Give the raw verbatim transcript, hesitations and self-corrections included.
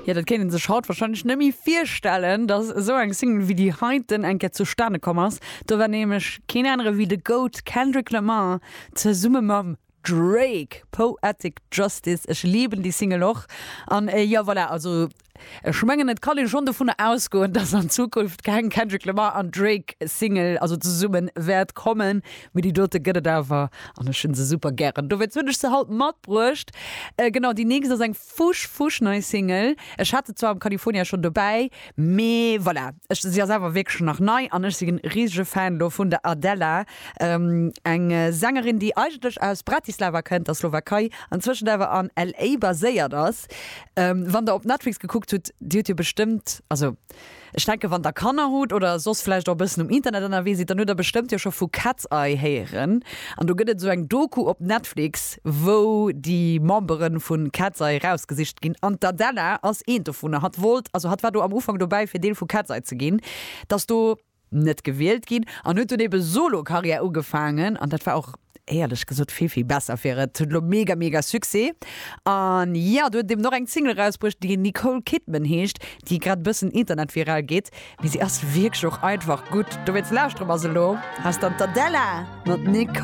Jo, dat kéint een sech haut warscheinlech net méi virstellen, dass esou eng Single wéi déi heiten eng Kéier zustane komm ass. Do war nämlech keen anere wéi de Goat Kendrick Lamar zesumme mam Drake, Poetic Justice. Ech liben déi Single och. An jo, voilà, also ech mengen et kann ee schonn dovunner ausgoen, dass an Zukunft keng Kendrick Lamar an Drake Single, also zesummen, wäert kommen. Mee déi dote gëtt et awer an ech hunn se super gären. Dowéinst hunn ech se haut matbruecht. Genau, déi nächst ass eng fusch fusch nei Single. Ech hat se zwar am California schonn dobäi, mee voilà, ech, si ass awer wierklech nach nei an ech sinn risege Fan do vun der Adela, eng Sängerin, déi eigentlech aus Bratislava kënnt, der Slowakei, anzwëschent awer an LA baséiert ass. Wann der op Netflix gekuckt hutt, dir hutt jo bestëmmt, also ech denken, wann der Kanner hutt oder soss vläicht och e bëssen um Internet ënnerwee sidd, dann hutt der bestëmmt jo scho vu Katseye héieren. An do gëtt et esou eng Doku op Netflix, wou déi Membere vu Katseye rausgesicht ginn. An d'Adela ass eent dovunner. Hatt wollt, also hatt war do am Ufank dobäi fir Deel vu Katseye ze ginn, dass do net gewielt ginn an huet dunn ebe Solo-Karriär ugefaangen an dat war och éierlech gesot vill vill besser fir et huet elo mega mega Succès an jo do huet eben och eng Single erausbruecht déi Nicole Kidman heescht déi grad bëssen internetviral geet mee si ass wierklech och einfach gutt dowéinst lauschtere mer se elo. Hei ass dann d'Adela mat Nicole.